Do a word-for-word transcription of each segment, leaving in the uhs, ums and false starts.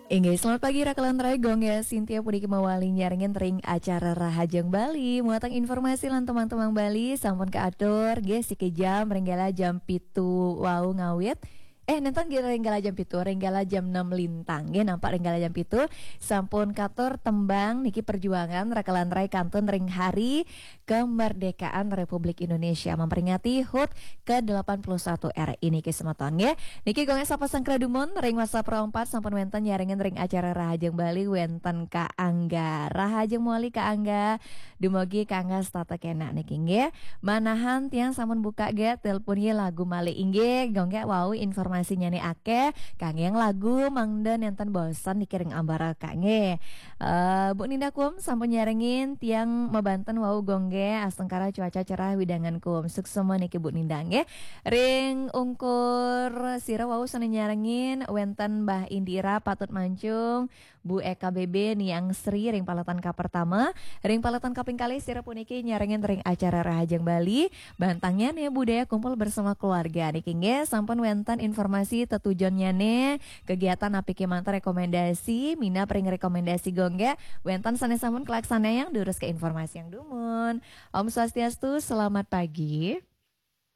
Inggih, selamat pagi Rakelan Rai, Gung Gé Sintia puniki mawali nyarengin ring acara Rahajeng Bali. Muatan informasi lan tembang-tembang Bali sampun kaatur, nggih, siki jam ring galah jam pitu wau ngawit. Eh, nénten nggih ring galah jam pitu, ring galah jam enam lintang. Nggih, nampak ring galah jam pitu sampun katur tembang niki perjuangan Rakelan Rai kantun ring hari kemerdekaan Republik Indonesia, memperingati hut ke delapan puluh satu R I niki semeton nggih. Niki Gung Gé sapa sangkra dumun ring WhatsApp rong empat sampun wénten nyarengin ring acara Rahajeng Bali wénten Ka Angga. Rahajeng mawali Ka Angga. Dumugi Ka Angga setata kénak niki nggih. Manahan tiang sampun buka gé telepon nggih lagu malih inggih. Gung Gé wau informasinyané akéh. Kangge lagu mangda nénten bosen niki ring ambara Ka nggih. Eh, Bu Ninda Kum sampun nyarengin tiang mabanten wau Gung Gé astungkara cuaca cerah wewidangan Kum. Suksma niki Bu Ninda nggih. Ring ungkur sira wau sané nyarengin wénten Mbah Indira Patut Mancung, Bu Eka B B Niang Sri ring paletan kapertama, ring paletan kaping kalih sira puniki nyarengin ring acara Rahajeng Bali. Bantangnya nih budaya kumpul bersama keluarga niki nggih sampun wénten informasi tetujonnyané kegiatan napi kémanten rekomendasi, minab ring rekomendasi Gung Gé, wénten sané sampun kalaksanayang durus ke informasi yang dumun. Om Swastiastu, selamat pagi.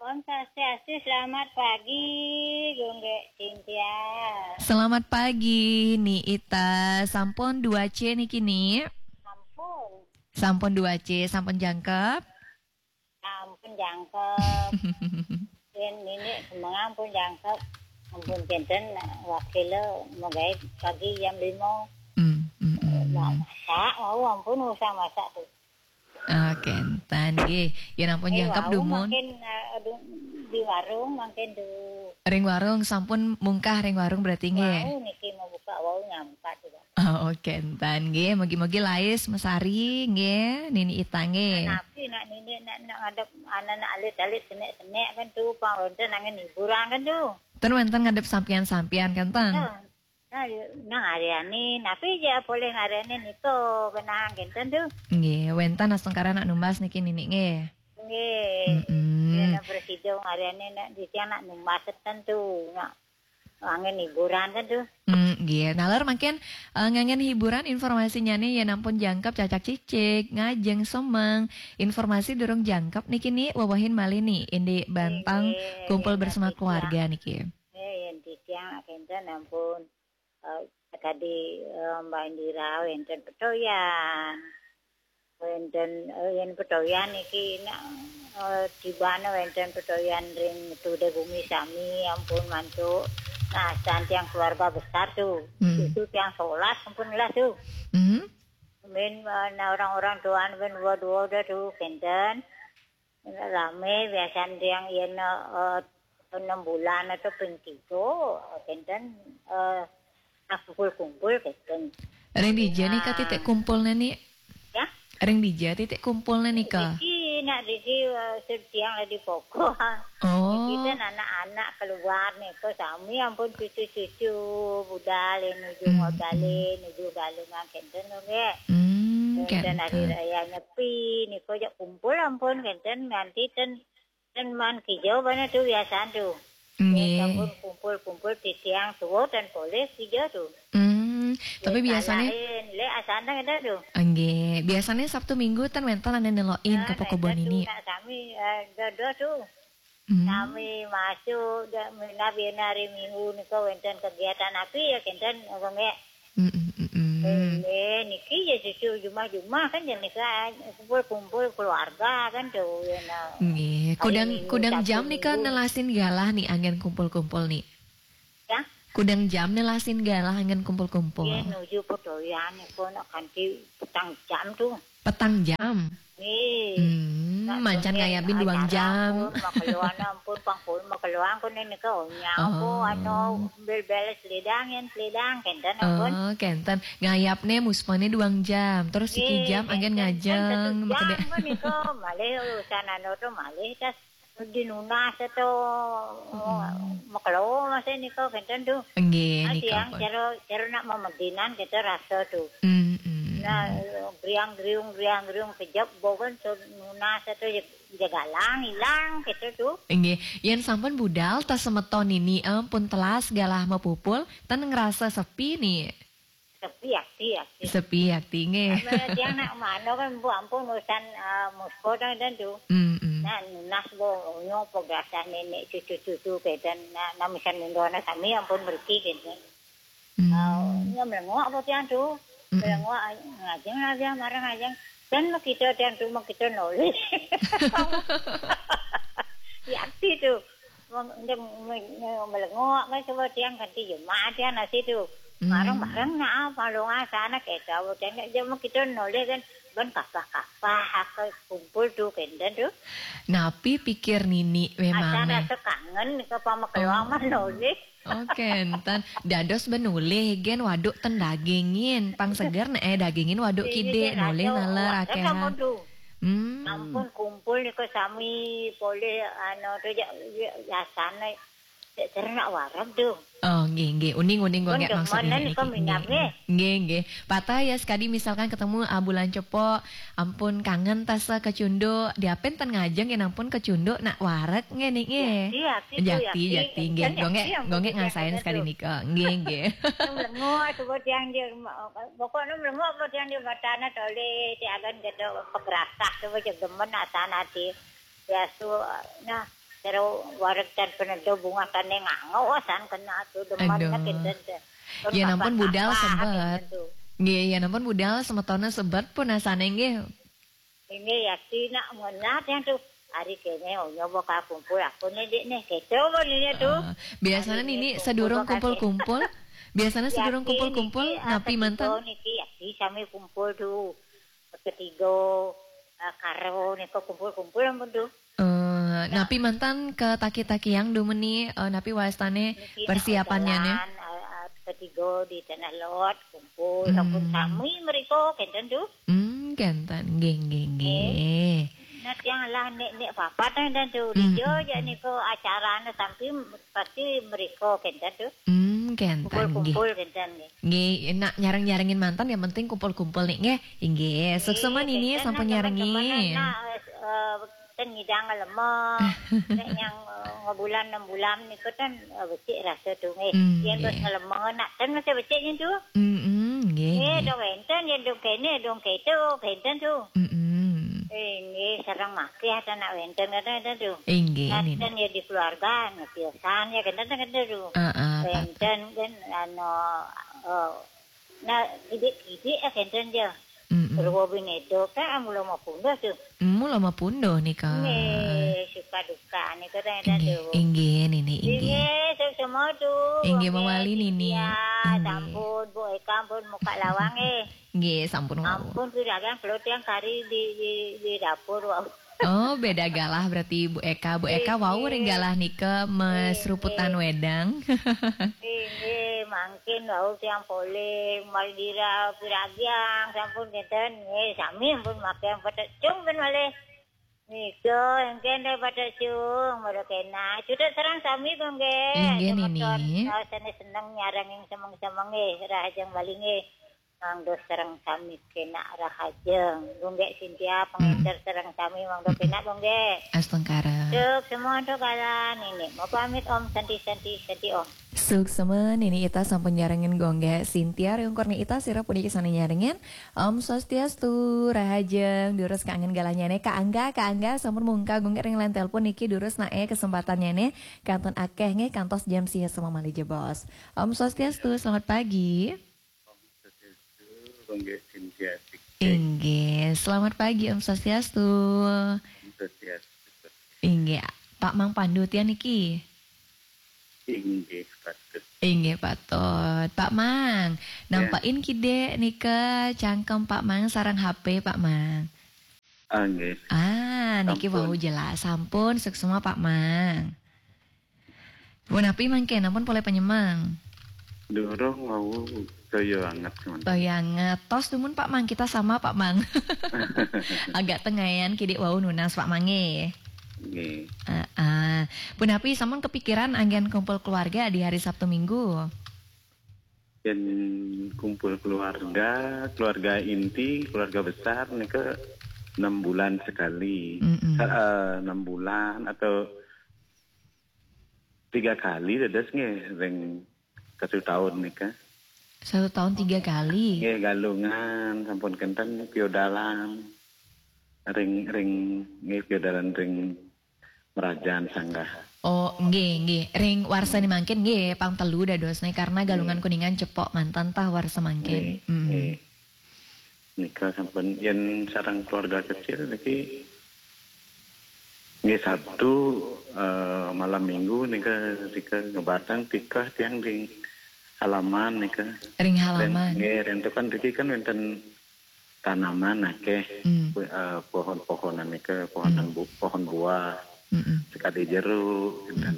Om Swastiastu, selamat pagi, Gung Gé Cynthia. Selamat pagi, Ni Ita. Sampun dua C niki, Ni? Sampun. Sampun dua C, sampun jangkep? Sampun jangkep. Yen nini semengang pun jangkep. Ampun kénten wakil magaé pagi jam lima. Hmm, hmm, hmm. Nah, masak, wau ampun usah masak tuh. Ah, kénten nggih. Yen ampun Eh, jangkep wau dumun. Makin, eh, aduh, di warung makin tuh. Ring warung sampun mungkah ring warung berarti nggih. Wau niki mau buka wau nyampat tuh. Oh, kénten nggih, mugi-mugi lais mesari nggih, Nini Ita nggih. Napi nak nini nak, nak ngadep anak-anak alit-alit senek-senek kan tu, pang wénten angin hiburan kan tu. Ten wénten ngadep sampian-sampian kan ten? Nah, nah, ya, nah, Ariani, napi ja boleh ngarani niko kenang kénten tu. Nggih, wénten astungkara nak numbas niki Nini nggih. Nggih. Mm-mm. Ya, nak bersidung Ariani nak di tiang nak numbas ten tu, nak angin hiburan kan tu. Hmm, nggih. Nalar mangkin, eh, ngangen hiburan informasinya nih ya nampun jangkep cacak cicik, ngajeng semeng. Informasi durung jangkep niki nih wewehin malih nih, indik bantang Nggih, kumpul bersama keluarga niki. Nggih, yen titiang kénten ampun, eh, tadi, eh, Mbak Indira wénten petoyan. Wénten, eh, yen petoyan iki nak, eh, tibane wénten petoyan ring Tude Bumi sami ampun mantuk. Nah, tiang keluarga besar tuh. Hmm. Itu tiang sebelas ampun lah tuh. Hmm. Min, eh, nah, orang-orang tuaan min dua-dua dah tuh, kénten. Rame biasanya tiang yen, eh, enam bulan atau ping tiga, kénten, eh, nah, kumpul-kumpul kénten. Ring dija nih, Kak, titik kumpulnya nih? Ya? Ring dija titik kumpulnya nih, Kak? Iki, nak iki, eh, setiang di pokok. Oh. Iki kan anak-anak keluar nih, kok sami ampun cucu-cucu, budal nuju Hmm, ngodale, hmm. Nuju galungan kénten, nggih. Hmm, Kénten hari kénten. Raya Nyepi, nih kok jak kumpul ampun, kénten nganti ten Ten man kija bana tu biasan tu. Nggih. Sampun kumpul-kumpul titiang tua ten polih kija tu. Hmm, tapi biasané lek asan ten ada tu. Nggih, biasané Sabtu Minggu ten wénten ané nelokin ke pokok bon ini. Nak sami, eh, dada tu. Hmm. Sami masuk, dak minab yen hari Minggu nika wénten kegiatan api ya kénten, apa nggih? Mm-mm, mm-mm. Eh, niki ya cucu jumah-jumah kan ya nika kumpul-kumpul keluarga kan tu, ya, nah. Nggih, kudang, hari Minggu, kudang Sabtu, jam nika Minggu. Nelasin galah nih anggen kumpul-kumpul nih. Ya? Kudang jam nelasin galah anggen kumpul-kumpul. Ya, nuju pedoyan nika nak kanti petang jam tu. Petang jam? Nggih. Hmm, mancan ngayabin duang jam. Makeluan ampun, pang pun makeluan kok nika onyang kok, anu, bel-bel selidang, yen selidang, kénten ampun. Oh, kénten. Ngayapné muspané duang jam, terus siki jam anggen ngajeng, kan satu jam makedé. Kan nika malih urusan anu tu malih tas dinunas atau makeluan masih nika kénten tu. Nggih, nika tiang ampun. Cara, cara nak memedinan kita rasa tu. Hmm, hmm. Nah, griang-griung, griang-griung, kejep, bogon, so, nunas itu, jagalang, hilang, gitu tuh. Inggih, yen sampun budal tas semeton nini, eh, pun telas galah mepupul, ten ngerasa sepi nih. Sepi, akti, akti. Sepi, akti, nggih. Sama dia nak mano kan, Bu, ampun, urusan, eh, musko dan, dan tuh. Mm-mm. Nah, nunas, Bu, nyo, pegasan nenek, cucu-cucu, gitu. Nah, nah, misalnya, sami, ampun, meriki, gitu. Mm. Ah, nya melengok apa tiang tu? Mm-mm. Melengok, ngajeng lah dia, marah ngajeng. Dan makita tiang tu, makita nolih. Ya, akti tu. Meng-, dia me-, me-, melengok kan sebab tiang ganti jemaah tiang nasi tu. Hmm. Marang-marang nak apa lu ngasa anak kita, tiang nak jemaah kita nolih kan. Ban kapah-kapah, apa kumpul tu, kenten tu. Napi pikir nini Asa memang nih? Rasa kangen ke pama keluar Oh. Mah nolih. Oh, kenten. Dados benulih gen waduk ten dagingin. Pang seger nek eh dagingin waduk Iya, kidik, iya, nulih rasa nalar wareg akeh. kamu tu. Hmm. Ampun kumpul ni ke sami boleh anu tu ya, ya, biasane. Cek ternak wareg tu. Oh, nggih, nggih. Uning, uning, Kan nggih, maksud demenan nini kok niki. minyaknya. Nggih, nggih. Patah ya sekali misalkan ketemu ah, bulan cepo, ampun kangen tas kecunduk, diapin ten ngajeng yen ampun kecunduk nak wareg nggih niki. Yakti, yakti tu, Jakti, yakti. jakti, nggih. Kan Gongek, yakti yang gongek begitu ngasain yang sekali begitu. Nika. Nggih, nggih. Melengok sebut yang dia, pokoknya melengok apa yang dia matana toleh, dia akan kata pegerasah tu macam demen atan hati. Biasa, nah, terus wareg dan penedo bunga tane ngangau, san kena tu demen Aduh. nak kenten tu. Ya, nampun budal sebet. Tu. Nggih, ya nampun budal semetone sebet pun asane nggih. Ini ya, si nak menat yang tu. Hari kene, oh, nyoba ka kumpul, aku ni, Dik, ni. Keco pun ini tu. Ah, biasanya Hari nini ni sedurung kumpul, kumpul-kumpul, biasanya sedurung Yakti kumpul-kumpul, niki, ah, napi manten? ketiga niki, yakti sami kumpul tu. Ketiga, ah, karo ni ko kumpul-kumpul ampun tu. Eh, napi manten ke taki-taki yang dumeni, eh, napi wastane Niki nak persiapannya nih? Jalan, ah, ah, ketiga di Tanah Lot, kumpul, Hmm. sampun sami mereka, kenten tu. Hmm, kenten, nggih, nggih, nggih. Nah, tiang lah nek-nek papat, kenten tu. Hmm, Dia hmm, je hmm. Niko acarane sampai pasti mereka, kenten tu. Hmm, kenten, nggih. Kumpul-kumpul, kenten ni. Nggih, nak nyareng-nyarengin manten yang penting kumpul-kumpul nih, nggih. Nggih, suksema Eh, nini kenten sampun nak teman-teman nyarengin. Nak, eh, eh, ten ngidang lemah. Nek yang, eh, ngebulan enam bulan niku ten, eh, becik rasa tu nggih. Hmm, Yen bos nggih. Ngelemah nak ten masih becik nyen tu. Mm-mm, nggih, Eh, nggih. Dong wenten, yen dong kene, dong keto, kenten tu. Mm-mm. Eh, nggih, sareng makih ada nak wenten, kenten, kenten tu. Inggih, Nah, nini. ten ya di keluarga, nah, biasan ya, kenten, kenten tu. Ah, ah, Pak. Wenten, kan, anu, eh, nah, kidik-kidik ya, kenten ya. Mm-mm. Ruwa binedo kan mula mapunduh tu. Mula mapunduh nika. Nggih, suka duka nika, kenten, kenten Inggih, tu. inggih, nini, inggih. Inggih, suksema tu. Inggih, Nggih, mawali nini. Cynthia, Inggih. Sampun, Bu Eka pun muka lawang, eh. Nggih, sampun wau. Ampun, piragang kelut yang kari di, di, di dapur, wau. Oh, beda galah berarti Bu Eka. Bu Eka wau ring galah nika meseruputan wedang. Inggih, mangkin wau tiang polih, maldira, piragiang, sampun kenten. Nggih, sami ampun makai yang petek cung pun malih. Nika, engken deh petek cung, baru kena. Cutet serang sami kok nggih. Inggih, Semeton, Nini. eh, sane seneng nyarengin semeng-semeng nggih, rahajeng bali nggih. Mangdo serang sami kena rahajeng. Gunggek Cynthia, pengenter serang sami mangdo kena gunggek. Astungkara. Suksema untuk kalian ini. Mau pamit Om, Santi, Santi, Santi Om. Suksema, nini ita sampun nyarengin gunggek Cynthia ring ungkur ni ita sira puniki sane nyarengin. Om Swastiastu, rahajeng, durus kangen galahnyane Kak Angga, Kak Angga sampun mungkal gunggek ring line telepon niki durus nae kesempatannyane kantun akeh nggih kantos jam sia sema malih jebos. Om Swastiastu, selamat pagi. Om Swastiastu, Gunggek Cynthia Tik. Inggih, selamat pagi Om Swastiastu. Om Swastiastu. Inggih, Pak Mang Pandu tiang niki. Inggih, patut. Inggih, patut. Pak Mang, nampakin kidik nika cangkem Pak Mang sareng H P Pak Mang. Ah, nggih. Ah, niki Sampun. Wau jelas. Sampun, suksema Pak Mang. Punapi mangke, nampun polih panyemeng? Durung wau toya anget, cuman. Toya anget. Tos dumun Pak Mang, kita sama Pak Mang. Agak tengayan kidik wau nunas Pak Mang nggih. Nggih. Ah, ah. Punapi sampun kepikiran anggen kumpul keluarga di hari Sabtu Minggu? Yen kumpul keluarga, keluarga inti, keluarga besar nika enam bulan sekali. Mm-mm. Sa- eh, enam bulan atau tiga kali dados nggih ring satu tahun nika. Satu tahun tiga kali. Nggih, Galungan sampun kenten, piodalan ring ring nggih, piodalan ring Merajan Sanggah. Oh, nggih, nggih. Ring warsa ni mangkin nggih pang telu dadosne karena Galungan Kuningan cepok mantan tah warsa mangkin. Nggih, mm, nggih. Nika sampun yen sareng keluarga kecil niki nggih Sabtu, eh, malam minggu nika, nika ngebatang tikah tiang di halaman nika. Ring halaman. Ren, nggih, ren tu kan riki kan wenten tanaman akeh. Hmm. Eh, pohon-pohonan nika, pohon, hmm, bu-, pohon buah. Mm-mm. Sekadi jeruk, dan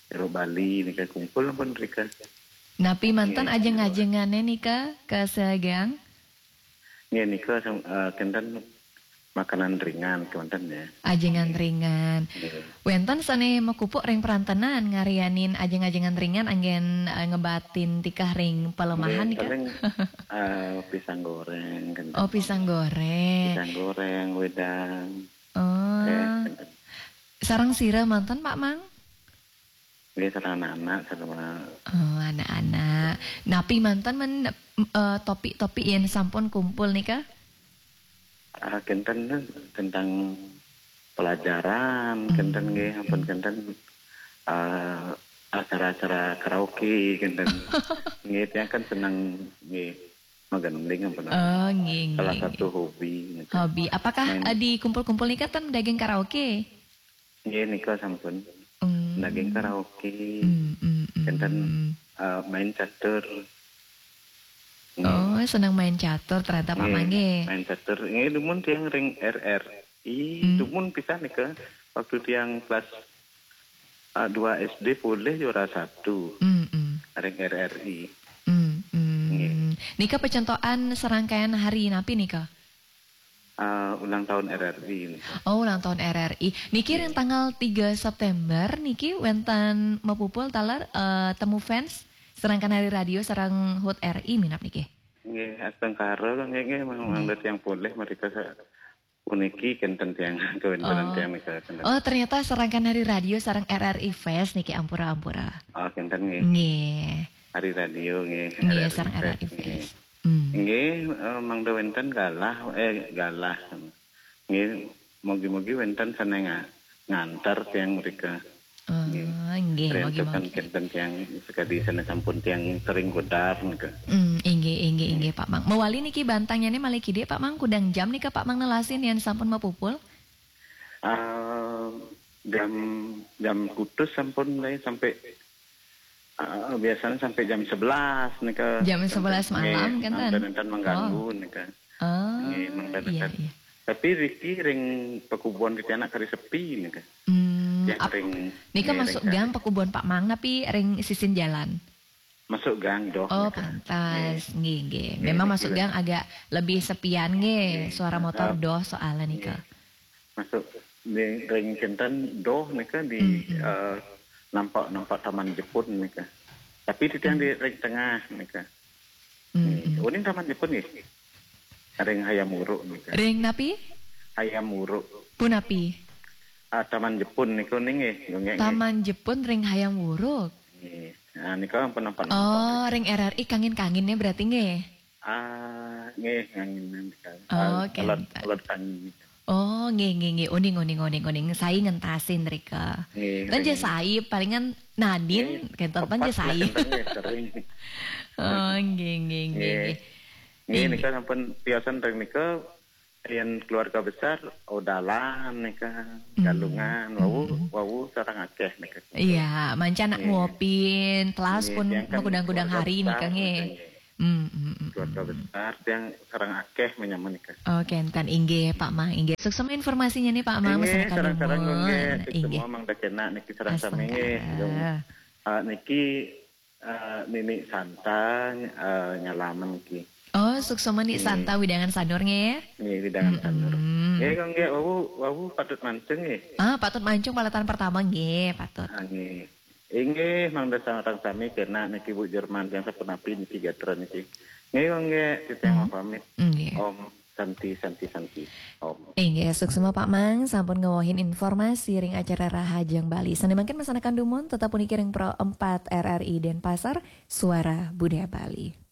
jeruk Bali nika kumpul pun rika. Napi mantan, nggih, ajeng-ajengane nika ka Segang? Nggih, nika sam-, eh, kenten makanan ringan kenten ya. Ajengan ringan. Nggih. Wenten sane makupuk ring perantenan ngarianin ajeng-ajengan ringan anggen, eh, ngebatin tikah ring pelemahan. Nggih, nika? Paling, eh, pisang goreng kenten. Oh, pisang goreng. Pisang goreng, wedang. Oh. Eh, kenten. Sareng sira manten, Pak Mang? Nggih, sareng anak-anak, sareng. Oh, anak-anak. Napi manten men, eh, topik-topik yen sampun kumpul nika? Ah, kenten tentang pelajaran, hmm, kenten nggih, ampun, hmm, kenten, ah, acara-acara karaoke, kenten. Nggih, tiang kan seneng nggih magending ampun. Oh, nggih, salah nggih, satu nggih, hobi nggih. Hobi. Apakah, main, eh, di kumpul-kumpul nika ten daging karaoke? Nggih, nika sampun. Hmm. Daging karaoke. Hmm, hmm, hmm. Kenten, eh, main catur. Nggih. Oh, seneng main catur ternyata Pak Mang nggih. Main catur. Nggih, dumun tiang ring R R I, hmm, dumun pisan nika. Waktu tiang kelas, eh, dua S D polih juara satu. Hmm, hmm. Ring R R I. Hmm, hmm. Nggih. Nika pecentokan serangkaian hari napi nika? Ah, ulang tahun R R I niki. Oh, ulang tahun R R I. Niki ring, nggih, tanggal tiga September niki wenten mapupul taler, eh, temu fans serangkan hari radio sareng hut R I minab niki. Nggih, astungkara nggih, nggih, mang-, nggih, mangda tiang polih mrika sa-, puniki kenten tiang, kewentenan, oh, tiang nika kenten. Oh, ternyata serangkan hari radio sareng R R I Fest niki, ampura-ampura. Oh, kenten nggih. Nggih. Hari radio nggih, nggih, R R I sareng Fest, R R I nggih. Fest. Hmm. Nggih, eh, mangda wenten galah, eh, galah. Nggih, mugi-mugi wenten sane nga-, nganter tiang mrika. Ah, nggih, nggih, mugi-mugi. Rentukan kenten tiang sekadi sane sampun tiang sering godar nika. Hmm, inggih, inggih, inggih, Pak Mang. Mawali niki bantangnyane malih kidik, Pak Mang, kudang jam nika Pak Mang nelasin yen sampun mapupul? Ah, jam, jam kutus sampun, nggih, sampai, ah, biasanya sampai jam sebelas nika. Jam sebelas malam, nggih, kenten? Nenten-nenten mengganggu nika. Oh. Nggih, mangda, iya, nenten. Iya. Tapi riki ring pakubon titiang kari sepi nika. Hmm, ya, ap-, ring, nika nggih, masuk ring gang kari. Pakubon Pak Mang napi ring sisin jalan? Masuk gang doh. Oh, nika. Pantas. Nggih. Nggih, nggih. Nggih, memang niki masuk gang agak lebih sepian nggih. Nggih. Suara motor, ah, doh soalnya nika. Nggih. Masuk di ring kenten doh nika di, mm-mm, eh, nampak, nampak Taman Jepun nika. Tapi titiang di, mm, ring tengah nika. Mm-mm. Nggih. Uning Taman Jepun nggih. Ring Hayam Wuruk nika. Ring napi? Hayam Wuruk. Punapi? Ah, Taman Jepun niku ning nggih, nggih, nggih. Taman Jepun ring Hayam Wuruk. Nggih. Nah, nika ampun nampak-nampak. Oh, ring R R I kangin-kanginnya berarti nggih? Ah, nggih, kangin nika. Oh, ah, kenten. Alat, alat kangin. Oh, nggih, nggih, nggih. Uning, uning, uning, uning. Saya ngentasin rika. Nggih, kan nggih. Jas saya palingan nadin, nggih, kenten, kan jas saya. Kenten nggih, sering. Oh, nggih, nggih, nggih, nggih. Nggih. Nggih, nggih. Nika sampun tiosan ring nika, yen keluarga besar, odalan nika, hmm, Galungan, wau, hmm, wau sareng akeh nika. Iya, manca anak, nggih, nguopin, telas, nggih, pun tiang kan makudang-kudang keluarga hari besar nika, nggih. Nika, nggih. Hmm, hmm, hmm, keluarga, hmm, besar, tiang sareng akeh menyaman nika. Oh, kenten, inggih, Pak Mang, inggih. Suksma informasinya nih, Pak Mang, inggih, masyarakat sareng-sareng, Bungun. Nggih, inggih. Semua Mang Dakena niki sareng sami nggih. Astungkara. Yang, ah, niki, eh, Nini Santa, eh, nyalaman niki. Oh, suksma Ni, nggih, Santa widangan Sanur nggih. Nggih, widangan, mm-mm, Sanur. Nggih, kok nggih, wau, wau patut mancung nggih. Ah, patut mancung palatan pertama nggih, patut. Ah, nggih. Inggih, mangda sareng sami kena niki Bu Jerman, tiang sapunapi niki gatra niki. Nggih, nggih, titiang Hmm. pamit. Nggih. Om Santi, Santi, Santi. Om. Inggih, suksma Pak Mang, sampun ngawahin informasi ring acara Rahajeng Bali. Sane mangkin masanekan dumun, tetap puniki ring Pro empat R R I Denpasar, Suara Budaya Bali.